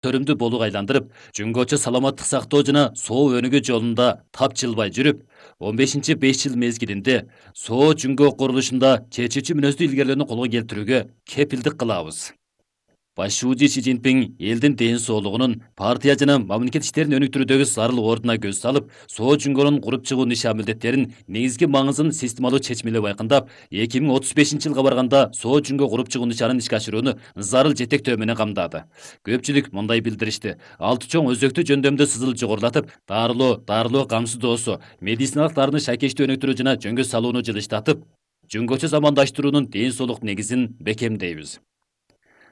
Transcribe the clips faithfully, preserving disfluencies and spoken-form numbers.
төрүмдүү болууга айландырып, жөнгөчө саламаттык сактоо жана соо өнүгүү жолунда тапжылбай жүрүп, он бешинчи беш жыл мезгилинде соо жөнгө курулушунда чечүүчү мүнөздүү илгерилерни колго келтирүүгө кепилдик кылабыз. Башчы Си Цзиньпин элдин ден соолугунун, партия жана мамлекет иштерин өнүктүрүүдөгү зарыл ордуна көз салып, соо жөнгөнүн куруп чыгуу нишан милдеттерин негизги маңызын системалуу чечмелеп айкындап, эки миң отуз бешинчи жылга барганда соо жөнгө куруп чыгуу нишанын ишке ашырууну зарыл жетектөө менен камдады. Көпчүлүк мындай билдиришти: алты чоң өзөктүү жөндөмдө сызыл жогорулатып, дарылоо, дарылоо камсыздоосу, медициналык дарыны шайкештүү өнүктүрүү жана жөнгө салууну жылыштатып, жөнгөчө замандаштыруунун ден соолук негизин бекемдейбиз.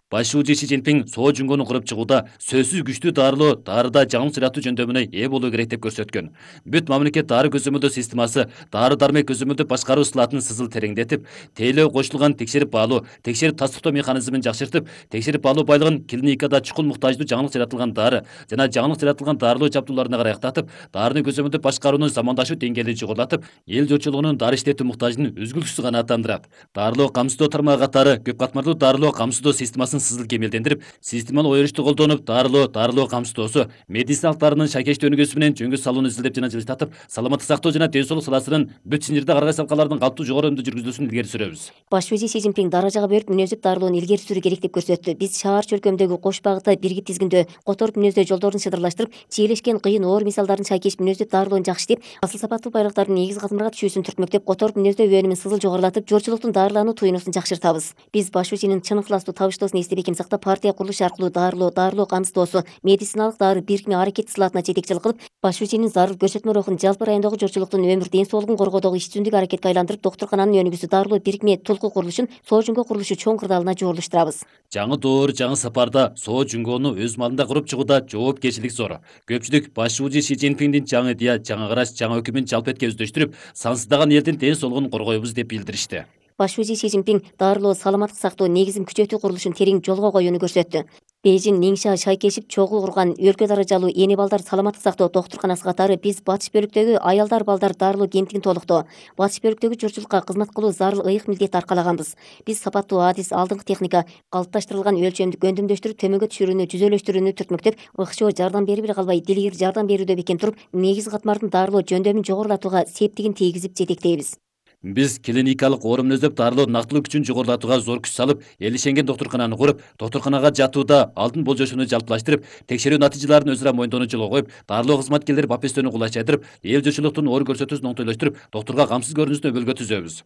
Башчы Си Цзиньпин соо жөнгөнү куруп чыгууда сөзсүз күчтүү дарылоо, дарыда жаңылык жаратуу жөндөмүнө ээ болуу керек деп көрсөткөн. Бүт мамлекет дары көзөмөлдөө системасы дары-дармек көзөмөлдөө башкаруу ысылатын сызыл тереңдетип, тейлөө кошулган текшерип баалоо, текшерип тастыктоо механизмин жакшыртып, текшерип баалоо байлыгын клиникада чукул муктаждуу жаңылык жаратылган дары жана жаңылык жаратылган дарылоо жабдууларына карактатып, дарыны көзөмөлдөө башкаруунун замандашуу деңгээлин жогорулатып, эл журтчулугунун дары иштетүү муктажын үзгүлтүксүз канааттандырат. Дарылоо камсыздоо тармагы катары көп катмарлуу дарылоо камсыздоо системасын сызыл кемелдендирип, системалуу оюрушту колдонуп, дарылоо, дарылоо камсыздоосу, медициналык дарынын шайкештүү өнүгүүсү менен жөнгө салууну изилдеп жана жылыштатып, саламаттык сактоо жана ден соолук саласынын бүт синирде каргай салкалардын калптуу жогору өнүмдүү жүргүзүлүшүн илгери сүрөбүз. Башчы Си Цзиньпин даражага берип мүнөздөп дарылоону илгери сүрүү керек деп көрсөттү. Биз шаар чөлкөмдөгү кош багытта биргип тизгиндөө которуп мүнөздөө жолдорун шыдырлаштырып, чиелешкен кыйын оор мисалдарын шайкеш мүнөздөп дарылоону жакшы иштеп, асыл сапаттуу байлыктардын негизги катмарга түшүүсүн түртмөктөп, которуп мүнөздөө өнүмүн сызыл жогорулатып, журтчулуктун дарылануу туюнусун жакшыртабыз. Биз башчынын чын ыхластуу табыштоосун эстеп эки сактап, партия курулушу аркылуу дарылоо, дарылоо камсыздоосу, медициналык дары бирикме аракет сылаатына жетекчилик кылып, башчынын зарыл көрсөтмө рухун жалпы райондогу журтчулуктун өмүр ден соолугун коргоодогу иш жүзүндөгү аракетке айландырып, доктуркананын өнүгүүсү дарылоо бирикме тулку курулушун соо жөнгө курулушу чоң кырдаалына жорулуштурабыз. Жаңы доор, жаңы сапарда соо жөнгөнү өз малында куруп чыгууда жоопкерчилик зор. Көпчүлүк башчы Си Цзиньпиндин жаңы идея, жаңы караш, жаңы өкүмүн жалпы этке өздөштүрүп, сансыздаган элдин ден соолугун коргойбуз деп билдиришти. Башчы Си Цзиньпин дарылоо, саламаттык сактоо негизин күчөтүү курулушун терең жолго коюуну көрсөттү. Бейжин, Ниңша шайкешип чогуу курган өлкө даражалуу эне балдар саламаттык сактоо доктурканасы катары биз батыш бөлүктөгү аялдар балдар дарылоо кемтигин толуктоо, батыш бөлүктөгү журтчулукка кызмат кылуу зарыл ыйык милдет аркалаганбыз. Биз сапаттуу адис, алдыңкы техника, калыпташтырылган өлчөмдү көндүмдөштүрүп, төмөнгө түшүрүүнү, жүзөлөштүрүүнү түртмөктөп, ыкчоо жардам берип эле калбай, дилгир жардам берүүдө бекем туруп, негизги катмардын дарылоо жөндөмүн жогорулатууга септигин тийгизип жетектейбиз. Биз клиникалык орун мүнөздөп дарылоо нактылуу күчүн жогорулатууга зор күч салып, эл ишенген доктуркананы куруп, доктурканага жатууда алдын болжошууну жалпылаштырып, текшерүү натыйжаларын өзара моюндоону жолго коюп, дарылоо кызматкерлери бапестөөнү кулайчайдырып, эл журтчулуктун оор көрсөтүүсүн оңтойлоштуруп, доктурга камсыз көрүнүштүү өбөлгө түзөбүз.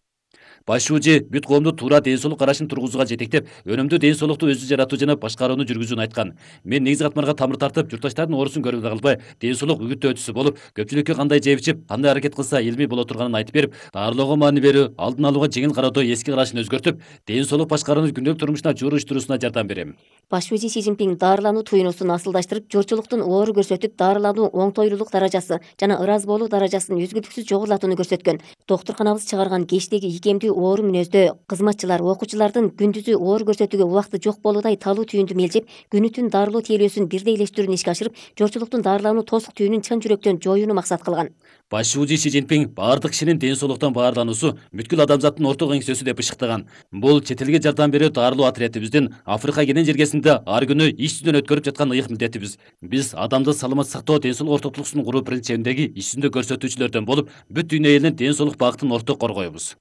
Башчы бүт коомду туура ден соолук карашын тургузууга жетектеп, өнүмдүү ден соолукту өзү жаратуу жана башкарууну жүргүзүүнү айткан. Мен негизги катмарга тамыр тартып, журтташтардын оорусун көрүп калбай, ден соолук үгүттөөчүсү болуп, көпчүлүккө кандай жеп ичип, кандай аракет кылса илимий боло турганын айтып берип, дарылоого маани берүү, алдын алууга жеңил кароодо эски карашын өзгөртүп, ден соолук башкарууну күндөлүк турмушуна жууруштуруусуна жардам берем. Башчы Си Цзиньпин дарылануу туюнусун асылдаштырып, журтчулуктун оору көрсөтүп, дарылануу оңтойлуулук даражасы жана ыраазы болуу даражасын үзгүлтүксүз жогорулатууну көрсөткөн. Доктурканабыз чыгарган кечтеги ийкемдүү оору мүнөздө кызматчылар, окуучулардын күндүзү оору көрсөтүүгө убакыты жок болуудай талуу түйүндү мелжеп, күнү түн дарылоо тейлөөсүн бирдейлештирүүнү ишке ашырып, журтчулуктун дарылануу тосук түйүнүн чын жүрөктөн жоюуну максат кылган. Башчы Си Цзиньпин баардык кишинин ден соолуктан баарлануусу бүткүл адамзаттын орток эңсөсү деп ышыктаган. Бул чет элге жардам берүү дарылоо отрядыбыздын Африка кенен жергесинде ар күнү иш жүзүнөн өткөрүп жаткан ыйык милдетибиз. Биз адамды саламат сактоо, ден соолук ортоктугун куруу принцибиндеги иш жүзүндө көрсөтүүчүлөрдөн болуп, бүт дүйнө элинин ден соолук багытын орток коргойбуз.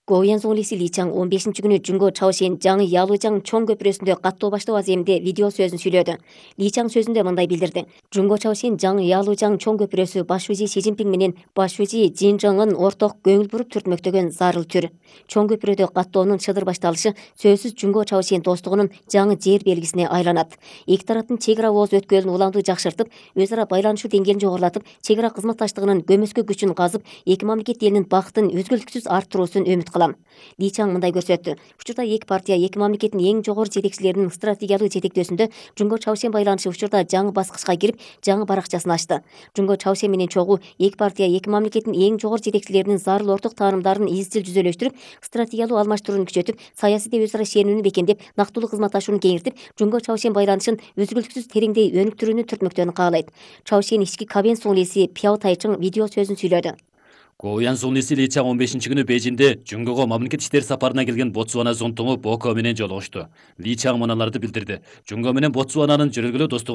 Гоуян Зонглиси Ли Чаң он бешинчи күнү Жүнгө Чаошен жаңы Ялужаң чоң көпүрөсүндө каттоо баштоо аземинде видео сөзүн сүйлөдү. Ли Чаң сөзүндө мындай билдирди: Жүнгө Чаошен жаңы Ялужаң чоң көпүрөсү башчы Си Цзиньпин менен башчы Цзиньжыңын орток көңүл буруп түртмөктөгөн зарыл түр. Чоң көпүрөдө каттоонун чыдыр башталышы сөзсүз Жүнгө Чаошен достугунун жаңы жер белгисине айланат. Эки тараптын чек ара ооз өткөлүн уламдуу жакшыртып, өз ара байланышуу деңгээлин жогорулатып, чек ара кызматташтыгынын көмөскө күчүн казып, эки мамлекет элинин бактын үзгүлтүксүз арттыруусун үмүт кылам. Ли Чаң мындай көрсөттү: учурда эки партия, эки мамлекеттин эң жогору жетекчилеринин стратегиялык жетектөөсүндө Жүнгө Чаошен байланышы учурда жаңы баскычка кирип, жаңы баракчасын ачты. Жүнгө Чаошен менен чогуу эки партия, эки мамлекеттин эң жогору жетекчилеринин зарыл орток таанымдарын изчил жүзөлөштүрүп, стратегиялык алмаштырууну күчөтүп, саясий өз ара ишенүүнү бекемдеп, нактылуу кызматташууну кеңиртип, Жүнгө Чаошен байланышын үзгүлтүксүз тереңдей өнүктүрүүнү түртмөктөрүн каалайт. Чаошен ички Кабен Сунглиси Пяо Тайчың видео сөзүн сүйлөдү. Гоуян сунглиси Ли Чаң он бешинчи күнү Бейжиңде Жунгого мамлекет иштери сапарына келген Ботсвана зонтуңу Боко менен жолугушту. Ли Чаң мыналарды билдирди. Жунго менен Ботсвананын жүрөлгүлүү достугу